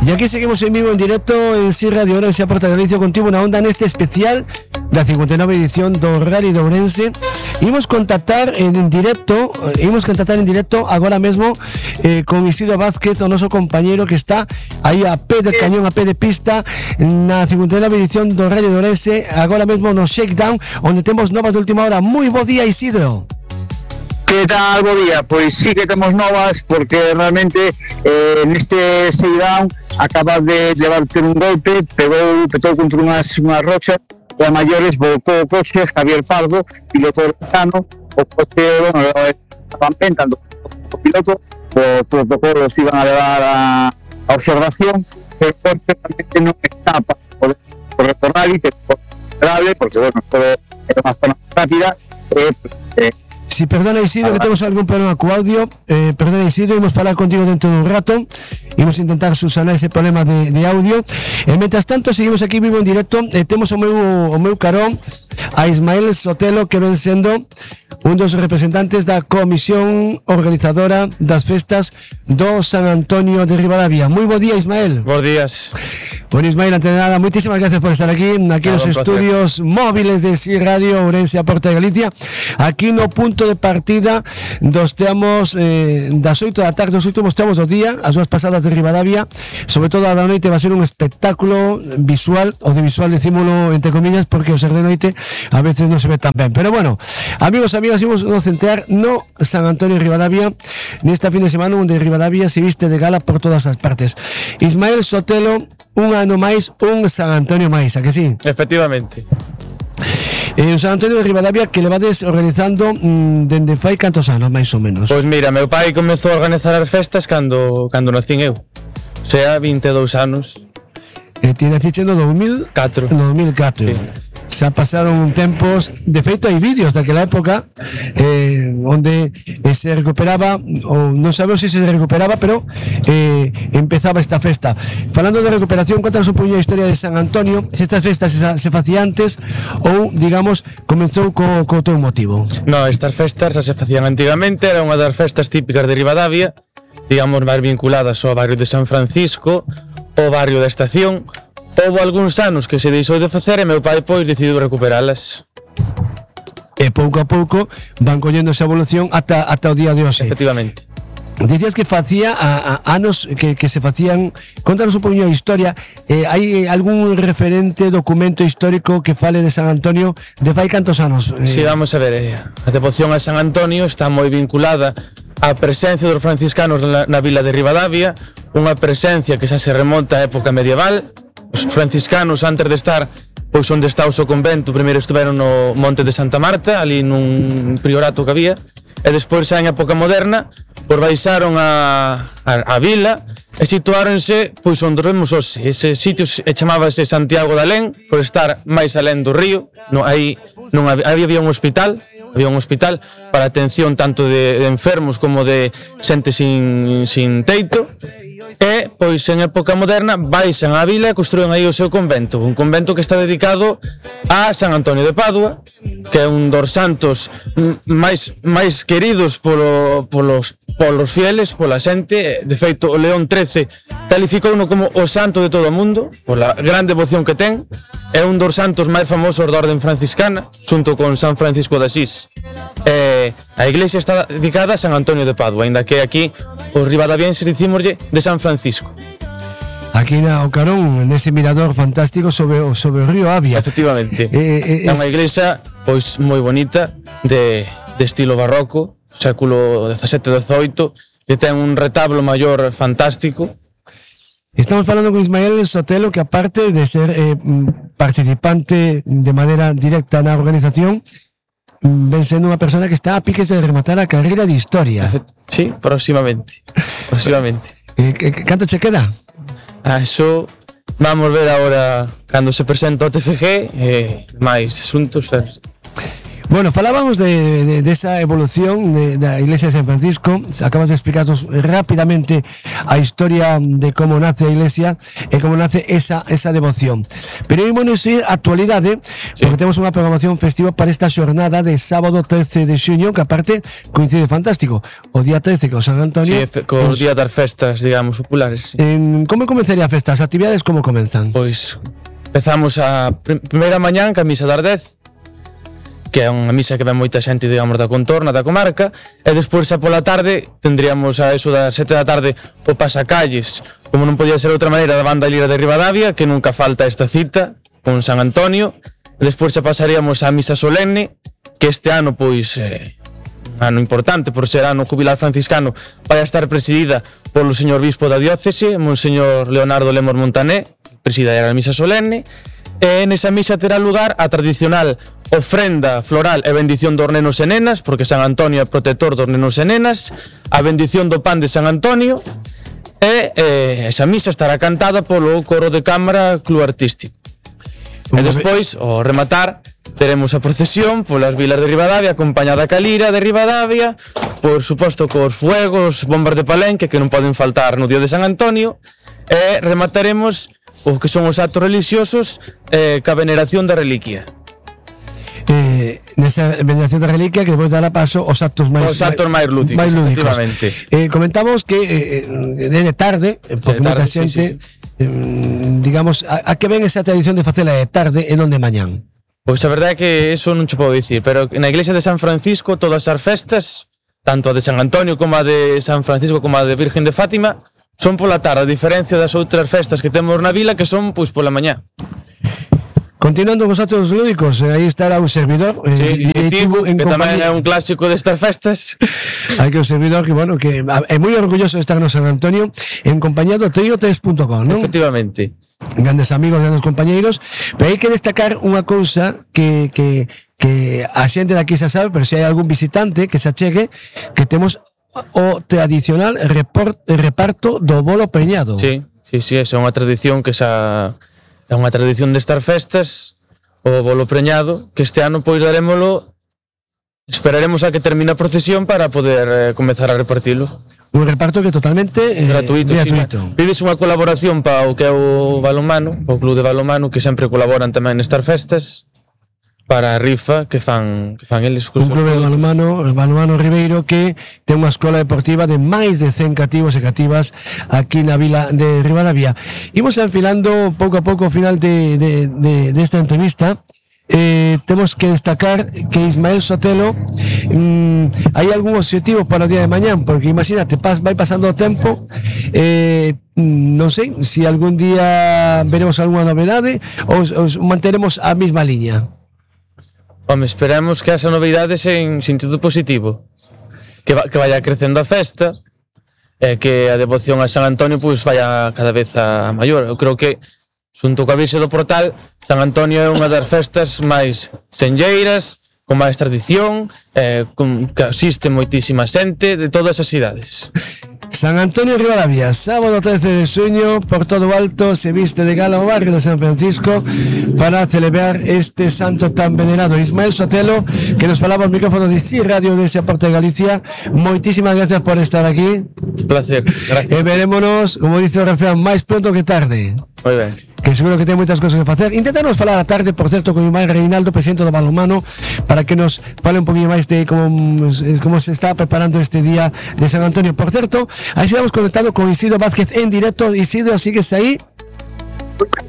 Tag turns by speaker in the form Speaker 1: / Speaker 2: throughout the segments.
Speaker 1: E aquí seguimos en vivo, en directo en Si Radio Ourense, a Porta de Galicia, contigo na onda neste especial da 59 edición do Rally de Ourense. Imos contactar en directo agora mesmo con Isidro Vázquez, o noso compañeiro que está aí a pé de cañón, a pé de pista na 59 edición do Rally de Ourense, agora mesmo no Shakedown, onde temos novas de última hora. Moi bo día, Isidro.
Speaker 2: Que tal, bo día? Pois sí que temos novas, porque realmente neste Shakedown acaba de levar un golpe, petou contra unhas rochas e a maiores volcou o coche. Javier Pardo, piloto americano, o coche, estaban pentando o piloto, os protocolos iban a levar a observación, pero o coche realmente non está para poder retornar e que é grave, porque, todo é unha zona rápida.
Speaker 1: Si, perdona Isidro, que temos algún problema co audio. Perdona Isidro, imos falar contigo dentro dun rato. Imos intentar subsanar ese problema de audio. Mentras tanto, seguimos aquí vivo en directo. Temos o meu carón a Ismael Sotelo, que ven sendo un dos representantes da comisión organizadora das festas do San Antonio de Ribadavia. Moi bo día, Ismael.
Speaker 3: Bos días.
Speaker 1: Bueno, Ismael, antes de nada, muchísimas gracias por estar aquí nos estudios móviles de Si Radio Ourense, a Porta de Galicia, aquí no punto de partida dos teamos das 8 da tarde, os últimos teamos dos días, as dúas pasadas de Ribadavia, sobre todo a da noite va a ser un espectáculo visual, audiovisual, decímolo entre comillas, porque o ser de noite a veces non se ve tan ben, pero bueno, amigos, imos nos centrar no San Antonio de Ribadavia nesta fin de semana, onde Ribadavia se viste de gala por todas as partes. Ismael Sotelo, un ano máis, un San Antonio máis, a que sí?
Speaker 3: Efectivamente.
Speaker 1: O San Antonio de Ribadavia que levades organizando dende fai cantos anos, máis ou menos?
Speaker 3: Pois mira, meu pai comezou a organizar as festas cando nacín eu. O sea, 22 anos.
Speaker 1: Ti naciche no 2004. No 2004. Sí. Xa pasaron tempos, de feito hai vídeos daquela época onde se recuperaba, ou non sabemos se recuperaba, pero empezaba esta festa. Falando de recuperación, contanos un poquinho a historia de San Antonio, se estas festas se facían antes ou, digamos, comenzou co teu motivo.
Speaker 3: No, estas festas xa se facían antigamente, era unha das festas típicas de Ribadavia, digamos, máis vinculadas ao barrio de San Francisco, ao barrio da Estación. Houve algúns anos que se deixou de facer e meu pai pois decidiu recuperalas.
Speaker 1: E pouco a pouco van collendo esa evolución ata o día de hoxe.
Speaker 3: Efectivamente.
Speaker 1: Dicías que facía anos que se facían. Contanos un poquinho a historia. Hai algún referente, documento histórico que fale de San Antonio de fai cantos anos?
Speaker 3: Si, vamos a ver, a devoción a San Antonio está moi vinculada á presencia dos franciscanos na vila de Ribadavia, unha presencia que xa se remonta á época medieval. Os franciscanos, antes de estar pois onde está o seu convento, primeiro estiveron no Monte de Santa Marta, ali nun priorato que había, e despois xa en época moderna pois baixaron a vila e situáronse pois onde vemos hoxe. Ese sitio chamábase Santiago de Alén, por estar máis alén do río. Había un hospital para atención tanto de enfermos como de xente sin teito. E, pois, en época moderna baixan á vila e construen aí o seu convento, un convento que está dedicado a San Antonio de Padua, que é un dos santos máis queridos polos fieles, pola xente. De feito, o León XIII calificouno como o santo de todo o mundo pola gran devoción que ten. É un dos santos máis famosos da orden franciscana, xunto con San Francisco de Asís. A iglesia está dedicada a San Antonio de Padua, ainda que aquí os ribadavienses dicímoslle de San Francisco.
Speaker 1: Aquí na Ocarón, nese mirador fantástico sobre o río Avia.
Speaker 3: Efectivamente. É unha iglesia pois moi bonita, de estilo barroco, século XVII-XVIII, que ten un retablo maior fantástico.
Speaker 1: Estamos falando con Ismael Sotelo, que aparte de ser participante de maneira directa na organización, ven sendo unha persona que está a piques de rematar a carreira de historia.
Speaker 3: Sí, próximamente.
Speaker 1: Canto che queda?
Speaker 3: Eso vamos ver agora cando se presenta o TFG, máis asuntos.
Speaker 1: Bueno, falábamos de esa evolución da Iglesia de San Francisco. Acabas de explicarnos rápidamente a historia de como nace a Iglesia e como nace esa devoción. Pero ímonos ir á actualidade, porque temos unha programación festiva para esta xornada de sábado 13 de xuño, que aparte coincide fantástico. O día 13 con San Antonio.
Speaker 3: Sí, co día das festas, digamos, populares. Sí.
Speaker 1: Como comenzaría a festa? As actividades como comenzan?
Speaker 3: Pois empezamos a primeira mañán ca misa das 10, que é unha misa que ven moita xente, digamos, da contorna, da comarca, e despois xa pola tarde tendríamos a eso das 7 da tarde o pasacalles, como non podía ser de outra maneira, da banda Lira de Ribadavia, que nunca falta esta cita con San Antonio. E despois xa pasaríamos á misa solenne, que este ano, pois, un ano importante por ser ano jubilar franciscano, vai a estar presidida polo señor bispo da diócese, Monseñor Leonardo Lemos Montané, presidirá a misa solenne. E nesa misa terá lugar a tradicional ofrenda floral e bendición dos nenos e nenas, porque San Antonio é protector dos nenos e nenas, a bendición do pan de San Antonio, e esa misa estará cantada polo coro de cámara Club Artístico. E despois, ao rematar, teremos a procesión polas vilas de Ribadavia, acompañada ca Lira de Ribadavia, por suposto cos fuegos, bombas de Palenque, que non poden faltar no día de San Antonio, e remataremos o que son os actos religiosos ca veneración da reliquia.
Speaker 1: Nesa veneración da reliquia que depois dará paso aos actos máis
Speaker 3: lúdicos, efectivamente.
Speaker 1: Comentamos que de tarde, porque moita xente, digamos, a que ven esa tradición de facela de tarde e non de mañán?
Speaker 3: Pois a verdade é que eso non che podo dicir, pero na iglesia de San Francisco todas as festas, tanto a de San Antonio como a de San Francisco como a de Virgen de Fátima, son pola tarde, a diferencia das outras festas que temos na vila, que son pois pola mañá.
Speaker 1: Continuando cos actos lúdicos, aí estará un servidor,
Speaker 3: directivo, que tamén é un clásico destas festas.
Speaker 1: Hai que un servidor que, bueno, que é moi orgulloso de estar no San Antonio en compañía do trio3.com, non?
Speaker 3: Efectivamente.
Speaker 1: Grandes amigos, grandes compañeiros, pero hai que destacar unha cousa que a xente daqui xa sabe, pero se hai algún visitante que se achegue, que temos o tradicional reparto do bolo preñado.
Speaker 3: Sí, é unha tradición que xa é unha tradición destas festas, o bolo preñado, que este ano pois darémolo, esperaremos a que termine a procesión para poder comezar a repartilo.
Speaker 1: Un reparto que totalmente
Speaker 3: gratuito. Pides unha colaboración para o que é o balonmano, o club de balonmano, que sempre colaboran tamén nestas festas, para a rifa que fan eles.
Speaker 1: Un club de balonmano Ribeiro, que ten unha escola deportiva de máis de 100 cativos e cativas aquí na vila de Ribadavia. Imos enfilando pouco a pouco ao final desta entrevista. Temos que destacar que Ismael Sotelo, hai algún objetivo para o día de mañán, porque imagínate, vai pasando o tempo, non sei se algún día veremos algunha novedade ou manteremos a mesma liña.
Speaker 3: Home, esperamos que esa novidade en sentido positivo, que vaya crecendo a festa, e que a devoción a San Antonio pois vaya cada vez a maior. Eu creo que, xunto coa Virxe do Portal, San Antonio é unha das festas máis senlleiras, con máis tradición, que asiste moitísima xente de todas as idades.
Speaker 1: San Antonio Ribadavia, sábado 13 de xuño, por todo o alto se viste de gala o barrio de San Francisco para celebrar este santo tan venerado. Ismael Sotelo, que nos falaba al micrófono de Sí Radio de Porta de Galicia, moitísimas gracias por estar aquí.
Speaker 3: Placer, gracias.
Speaker 1: E verémonos, como dice o refrán, máis pronto que tarde.
Speaker 3: Moi ben.
Speaker 1: Que seguro que ten moitas cousas que facer. Intentarnos falar a tarde, por certo, con Ismael Reinaldo, presidente do balonmano, para que nos fale un poquinho máis de como se está preparando este día de San Antonio. Por certo, aí estamos conectado con Isidro Vázquez en directo. Isidro, sigues aí?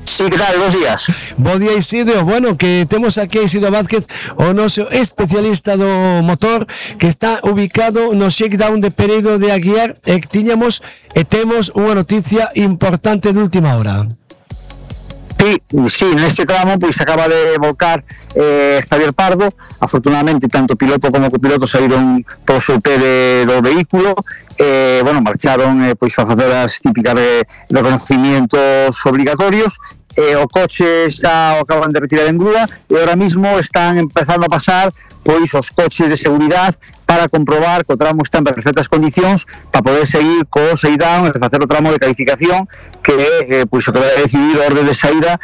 Speaker 2: Sí, que tal? Bons días.
Speaker 1: Bo día, Isidro. Bueno, que temos aquí a Isidro Vázquez, o noso especialista do motor, que está ubicado no shakedown de Pereiro de Aguiar, e temos unha noticia importante de última hora.
Speaker 2: Sí, neste tramo pois acaba de volcar Javier Pardo. Afortunadamente tanto piloto como copiloto saíron por seu pé do vehículo, marcharon pois a facer as típicas de reconocimientos obligatorios. O coche xa o acaban de retirar en grúa e ahora mismo están empezando a pasar pois os coches de seguridade para comprobar que o tramo está en perfectas condicións para poder seguir co seidown e facer o tramo de calificación que pois o que vai decidir a orde de saída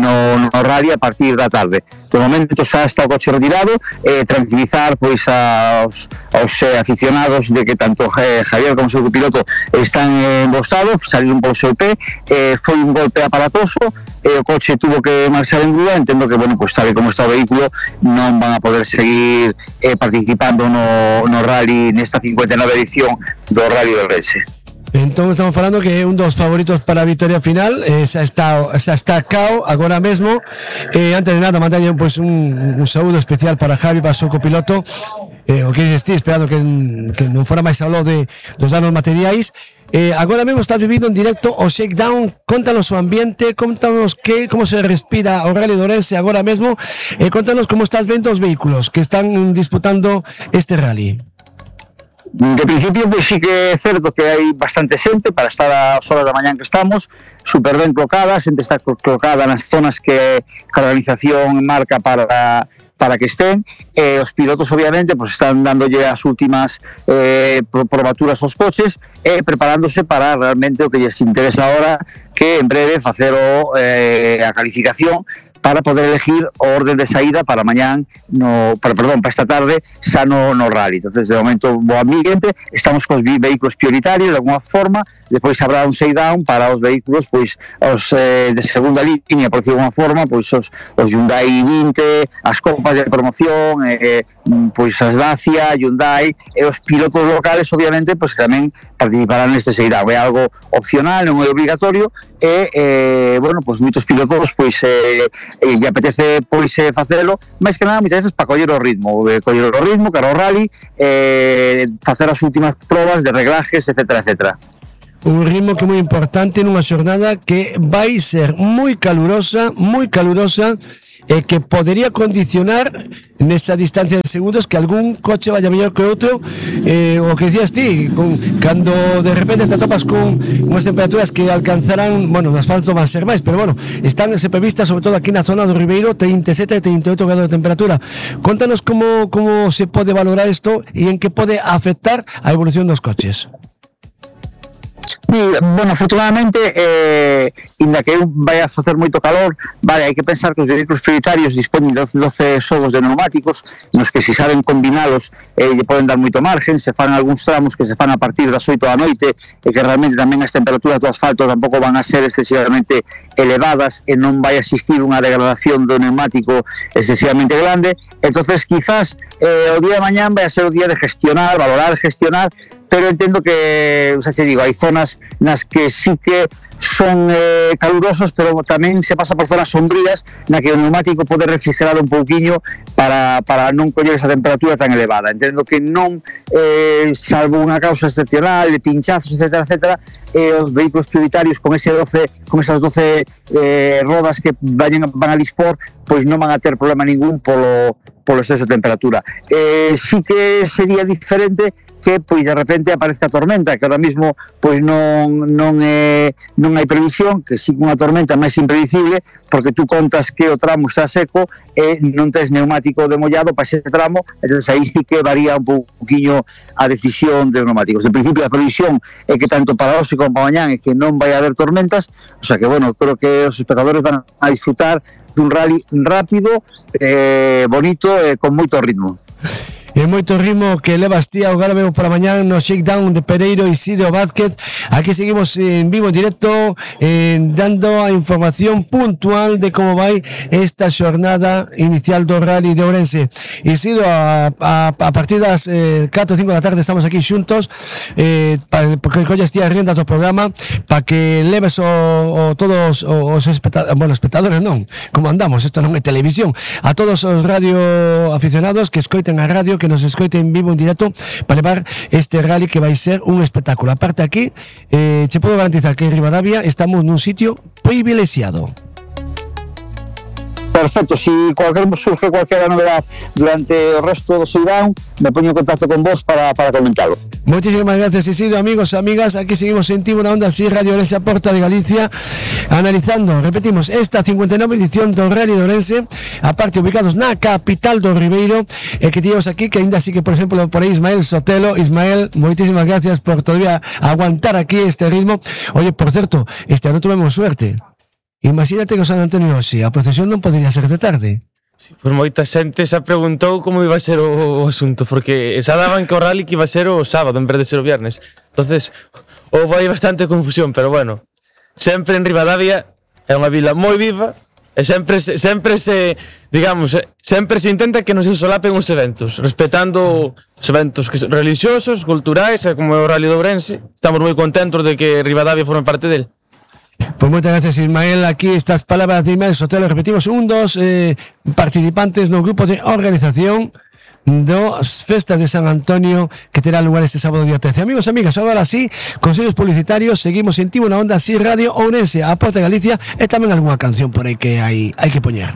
Speaker 2: no rally a partir da tarde. De momento xa está o coche retirado, tranquilizar pois aos aficionados de que tanto Javier como o seu copiloto están en bo estado, saliron polo seu pé, foi un golpe aparatoso, o coche tuvo que marchar en grúa, entendo que, bueno, pues tal e como está o vehículo non van a poder seguir participando no rally nesta 59 edición do Rally de Ourense.
Speaker 1: Entón estamos falando que é un dos favoritos para a victoria final, xa está cao agora mesmo. Antes de nada, mandalle pues, un saúdo especial para Javi, para o seu copiloto, o que estou esperando que non fora máis hablo dos danos materiais. Agora mesmo está vivindo en directo o Shakedown. Contanos o ambiente, contanos como se respira o Rally de Ourense agora mesmo, contanos como estás vendo os vehículos que están disputando este rally.
Speaker 2: De principio, pois sí que é certo que hai bastante xente para estar ás horas da mañán que estamos, super ben colocada, a xente está colocada nas zonas que a organización marca para que estén, os pilotos obviamente pues están dándolle as últimas probaturas aos coches e preparándose para realmente o que lles interesa ahora, que en breve facer a calificación para poder elegir o orden de saída para mañán, para esta tarde, xa no rally. Entonces, de momento, bo ambiente, estamos cos vehículos prioritarios, de alguna forma, depois habrá un shakedown para os vehículos, pois, os de segunda línea, por decir de alguna forma, pois os Hyundai 20, as copas de promoción, pois as Dacia, Hyundai, e os pilotos locales, obviamente, pois tamén participarán neste shakedown. É algo opcional, non é obligatorio, e, bueno, pois moitos pilotos, pois, lle apetece pois facelo, máis que nada moitas veces para coller o ritmo cara ao rally, facer as últimas probas de reglajes, etcétera, etcétera.
Speaker 1: Un ritmo que é moi importante nunha xornada que vai ser moi calurosa e que podería condicionar nesa distancia de segundos que algún coche vaya mellor que outro, o que decías ti, cando de repente te topas con unhas temperaturas que alcanzarán, bueno, no asfalto van a ser máis, pero bueno, están previstas sobre todo aquí na zona do Ribeiro 37 e 38 grados de temperatura. Contanos como se pode valorar isto e en que pode afectar a evolución dos coches.
Speaker 2: Sí, bueno, afortunadamente, inda que vai a facer moito calor, vale, hai que pensar que os vehículos prioritarios dispoñen de 12 xogos de neumáticos, nos que se saben combinalos lle poden dar moito margen, se fan algúns tramos que se fan a partir das 8 da noite, e que realmente tamén as temperaturas do asfalto tampouco van a ser excesivamente elevadas e non vai a existir unha degradación do neumático excesivamente grande. Entonces quizás o día de mañán vai a ser o día de gestionar, valorar, gestionar, pero entendo que, xa se digo, hai zonas nas que sí que son calurosas, pero tamén se pasa por zonas sombrías na que o neumático pode refrigerar un pouquiño para non coller esa temperatura tan elevada. Entendo que non, salvo unha causa excepcional de pinchazos, etcétera, etcétera, os vehículos prioritarios con esas 12 rodas que van a dispor, pois non van a ter problema ningún polo exceso de temperatura. Sí que sería diferente que pois de repente aparezca a tormenta, que ahora mismo pois non hai previsión, que sí que unha tormenta máis impredecible, porque tú contas que o tramo está seco e non tes neumático demollado para ese tramo, entonces aí sí que varía un pouquiño a decisión de neumáticos. En principio a previsión é que tanto para hoxe como para mañán é que non vai haber tormentas, o sea que, bueno, creo que os espectadores van a disfrutar dun rally rápido, bonito e con moito ritmo.
Speaker 1: E moito ritmo que levas ti agora mesmo para mañán no Shakedown de Pereiro e Isidro Vázquez. Aquí seguimos en vivo, en directo, dando a información puntual de como vai esta xornada inicial do Rally de Ourense. Isidro, a partir das 4 ou 5 da tarde estamos aquí xuntos, porque colles ti as riendas do programa para que leves todos os espectadores, non, como andamos, isto non é televisión, a todos os radio aficionados que escoiten a radio, que nos escoiten en vivo, en directo, para levar este rally que vai ser un espectáculo. Aparte aquí, che podo garantizar que en Ribadavia estamos nun sitio privilexiado.
Speaker 2: Perfecto, si surge cualquier novedad durante el resto del Seidán, me pongo en contacto con vos para comentarlo.
Speaker 1: Muchísimas gracias, Isidro. Amigos, amigas, aquí seguimos en Tibo na Onda, así Radio Ourense, a Porta de Galicia, analizando, repetimos, esta 59 edición do Rally de Ourense, aparte ubicados na capital do Ribeiro, que teníamos aquí, que ainda así que, por ejemplo, por aí Ismael Sotelo. Ismael, muchísimas gracias por todavía aguantar aquí este ritmo. Oye, por cierto, este ano tuvemos suerte. Imagínate que o San Antonio hoxe, a procesión non podería ser de tarde.
Speaker 3: Sí, pues moita xente xa preguntou como iba a ser o asunto, porque xa daban que o rally que iba a ser o sábado en vez de ser o viernes. Entonces, houve aí bastante confusión, pero bueno, sempre en Ribadavia é unha vila moi viva e sempre se intenta que non se solapen os eventos, respetando os eventos religiosos, culturais, como é o Rally de Ourense. Estamos moi contentos de que Ribadavia forme parte del.
Speaker 1: Pues muchas gracias, Ismael. Aquí estas palabras de Ismael Sotelo. Repetimos, dos participantes no grupo de organización das festas de San Antonio que terá lugar este sábado día 13. Amigos, amigas, ahora sí, consellos publicitarios. Seguimos en Tibo na Onda, así Radio Ourense, a Porta de Galicia, e tamén algunha canción por aí que hai que poñer.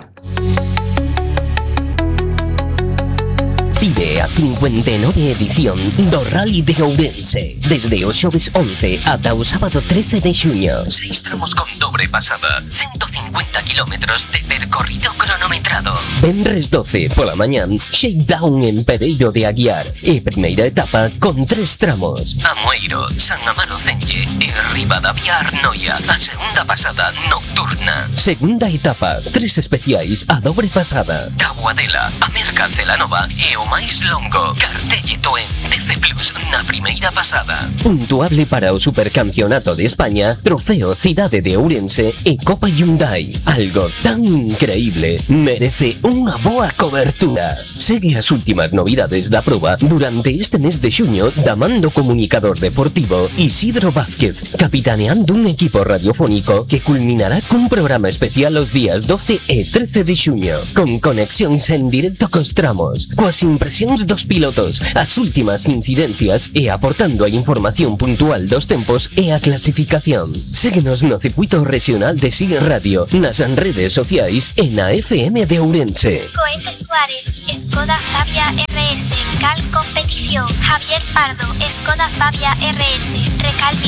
Speaker 4: Vive a 59 edición do Rally de Ourense desde o xoves 11 ata o sábado 13 de xuño. 6 tramos con dobre pasada, 150 kilómetros de percorrido cronometrado. Venres 12 pola mañán, shakedown en Pereiro de Aguiar e primeira etapa con 3 tramos. Amoeiro, San Amaro Celle e Ribadavia Arnoia, a segunda pasada nocturna. Segunda etapa, 3 especiais a dobre pasada. Taboadela, a Merca Celanova e o máis longo, Cartellito en DC Plus na primeira pasada. Puntuable para o Supercampeonato de España, Trofeo Cidade de Ourense e Copa Hyundai. Algo tan increíble merece unha boa cobertura. Segue as últimas novidades da proba durante este mes de xuño da man do comunicador deportivo Isidro Vázquez, capitaneando un equipo radiofónico que culminará cun programa especial os días 12 e 13 de xuño, con conexións en directo cos tramos, coas impresións dos pilotos, as últimas incidencias e aportando a información puntual dos tempos e a clasificación. Séguenos no circuito regional de SIG Radio, nas redes sociais e na FM de Ourense.
Speaker 5: Coete Suárez, Skoda Fabia RS, Cal Competición. Javier Pardo, Skoda Fabia RS, Recalvi